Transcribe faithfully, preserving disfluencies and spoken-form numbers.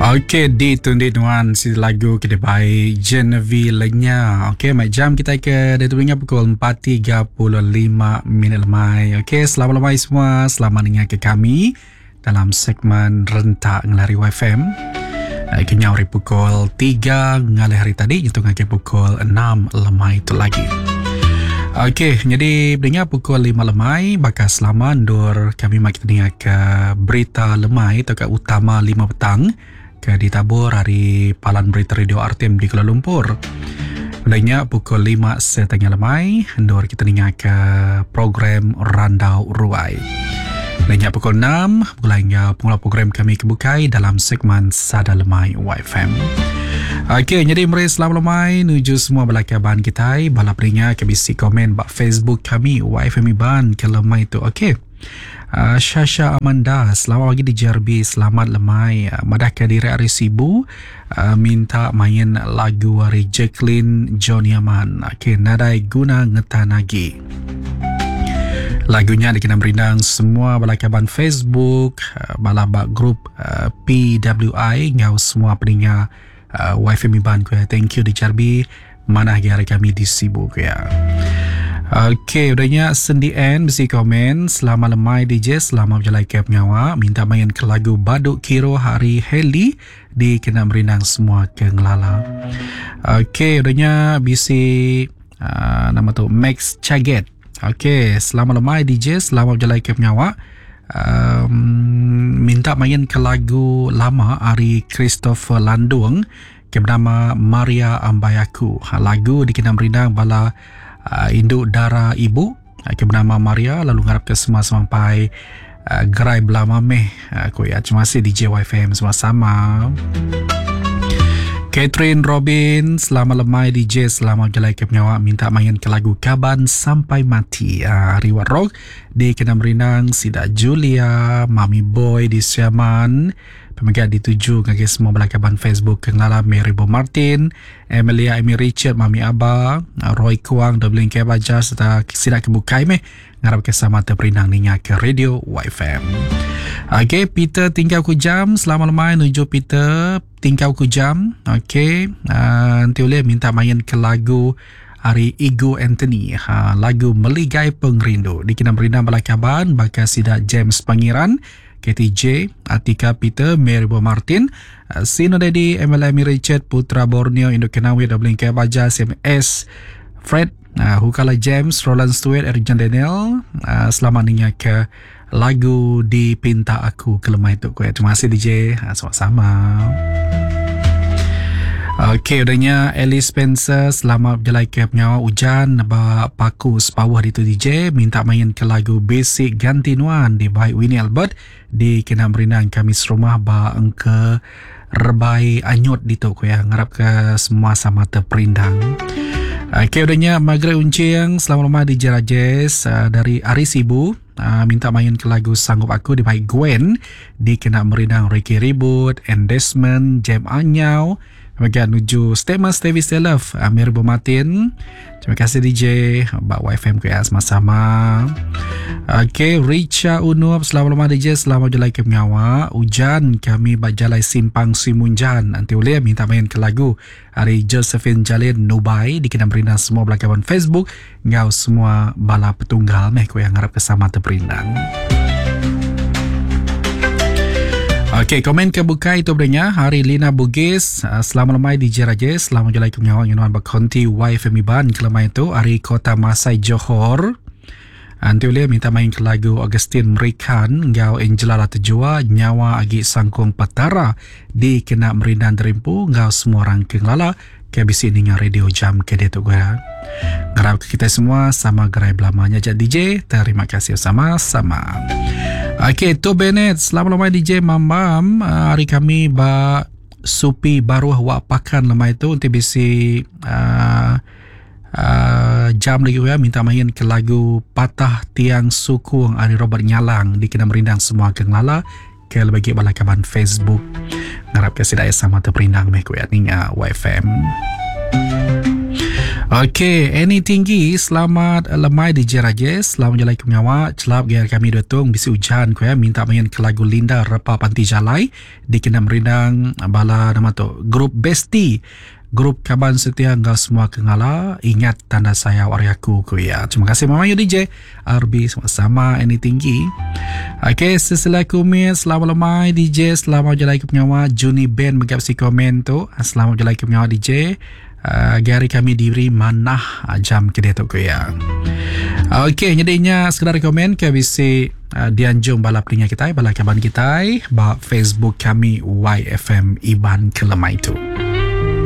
Okey, di tundi nuan si lagu ke dibai Genevieve Lenya. Okey, mai jam kita ke ditu ingat pukul empat tiga puluh lima minit lemai. Okey, selamat lemai semua. Selamat dengar ke kami dalam segmen Rentak Ngelari Y F M. Kenya hari pukul tiga ngalih hari tadi nyentuh ke pukul enam lemai itu lagi. Okey, jadi dengar pukul lima lemai bakal selama ndur kami mak kita dengar ke berita lemai atau ke utama lima petang ke ditabur hari Palan Berita Radio R T M di Kuala Lumpur. Mulanya pukul lima setengah lemai ndur kita dengar ke program Randau Ruai. Mulanya pukul enam mulanya pengelola program kami kebukai dalam segmen Sada Lemai Y F M. Okey, jadi meri selamat lemai nuju semua belakaban kita bala peringa ke bisi komen bak Facebook kami Y F M Iban ke lemai tu. Okey. Uh, Shasha Amanda, selamat pagi di J R B, selamat lemai. Uh, madah ke diri hari Sibu, uh, minta main lagu hari Jacqueline John Yaman. Okey, nadai guna ngetan lagi. Lagunya dikena merindang semua balakaban Facebook, uh, bala bak grup uh, P W I ngau semua peninga uh, Y F M Iban ku ya. Thank you di J R B, manah hari kami di Sibu ku ya. Okey, udahnya Sendi N mesti komen selamat lemai D J, selamat berjalan ke pengawa, minta main ke lagu Baduk Kiro hari Heli di kena merindang semua ke ngelala. Okey, udahnya bisi uh, nama tu Max Chaget. Okey, selamat lemai D J, selamat berjalan ke pengawa. Um, minta main ke lagu lama hari Christopher Landung ke bernama Maria Ambayaku. Ha, lagu dikena merindang bala Uh, induk dara ibu uh, ke bernama Maria lalu ngarap ke semua sampai uh, gerai belama meh uh, ku ya. Terima kasih D J Y F M sama-sama. Catherine Robin, selamat lemai D J, selamat berjalan ke penyawa, minta main ke lagu Kaban Sampai Mati. Uh, Reward Rock di kena merindang Sida Julia, Mami Boy di Siaman. Pemegang dituju ngagai semua belakaban Facebook kenala Mary Bo Martin, Emilia Amy Richard, Mami Aba, Roy Kuang, Dublin Kebaja serta sidak kebukai meh ngarap ke sama terperindang ninga ke Radio Y F M. Okey, Peter tinggal ku jam, selamat lemai nuju Peter tinggal ku jam. Okey, uh, nanti boleh minta main ke lagu hari Igo Anthony, ha, lagu Meligai Pengrindu. Dikena merindang belakaban bakal sidak James Pangeran, K T J, Atika Peter, Mary Bo Martin, Sino Daddy, M L M Richard, Putra Borneo, Indo Kenawi, Dublin Kebaja, C M S, Fred, uh, Hukala James, Roland Stewart, Eric John Daniel. Uh, selamat ninga ke lagu Dipinta Aku ke lemai tu. Terima kasih D J, uh, sama-sama. Okey, udahnya Alice Spencer, selamat berjalan ke penyawa hujan ba paku sepawah di tu D J, minta main ke lagu Basic Ganti Nuan di by Winnie Albert di kena merindang kami serumah ba engke rebai anyut di tu ku ya. Ngarap ke semua sama terperindang. Okey, udahnya Margaret Uncing, selamat lemah D J Rajesh uh, dari Ari Sibu. Uh, minta main ke lagu Sanggup Aku di by Gwen di kena merindang Ricky Ribut, and Desmond, Jam Anyau. Bagian menuju Statement Stevie Love, Amir Bumatin. Terima kasih D J Bak Y F M K S sama-sama. Okey, Richa Unup, selamat lemah D J, selamat jalan ke pengawa. Hujan kami berjalai simpang Simunjan. Nanti boleh minta main ke lagu hari Josephine Jalin Nubai di kena merindang semua belakaban Facebook ngau semua bala petunggal meh ku yang harap kesama terperindang. Okey, komen ke bukai itu berenya hari Lina Bugis, selamat lemai di J Rajesh, selamat jalan ke pengawa Yunan Bakonti Y F M Iban kelemai itu hari Kota Masai Johor. Nanti boleh minta main ke lagu Augustine Merikan ngau Angela Latejua Nyawa Agi Sangkung Patara di kena merindang terimpu ngau semua orang ke ngelala K B C dengan radio jam ke dia tu gue. Ngarap kita semua sama gerai belamanya jak D J. Terima kasih sama-sama. Okey, tu Bennett, selamat lemai D J Mamam. Hari kami ba supi baruh wak pakan lemai tu nanti bisi uh, uh, jam lagi ya minta main ke lagu Patah Tiang Sukung ari Robert Nyalang di kena merindang semua ke ngelala ke lebih balakaban Facebook. Ngarap ke sidaya sama terperindang meh ku ya ninga Y F M. Okey, Annie Tinggi, selamat lemai D J Rajesh. Selamat jalan ke pengawa. Celap gaya kami dutung bisi hujan ku ya, minta main ke lagu Linda Repa Panti Jalai dikena merindang bala nama tu grup Bestie, grup kaban setia enggau semua kengala ingat tanda sayau ari aku ku ya. Terima kasih Mama Yu D J R B sama-sama Annie Tinggi. Okey, sesela kumit, selamat lemai D J, selamat jalan ke pengawa. Juni Ben megap si komen tu. Selamat jalan ke pengawa D J. Uh, gari kami diberi manah jam ke dia tu ku ya. Okey, jadinya sekedar komen ke bisi uh, dianjung bala peninga kita, bala kaban kita ba Facebook kami Y F M Iban Kelemai tu.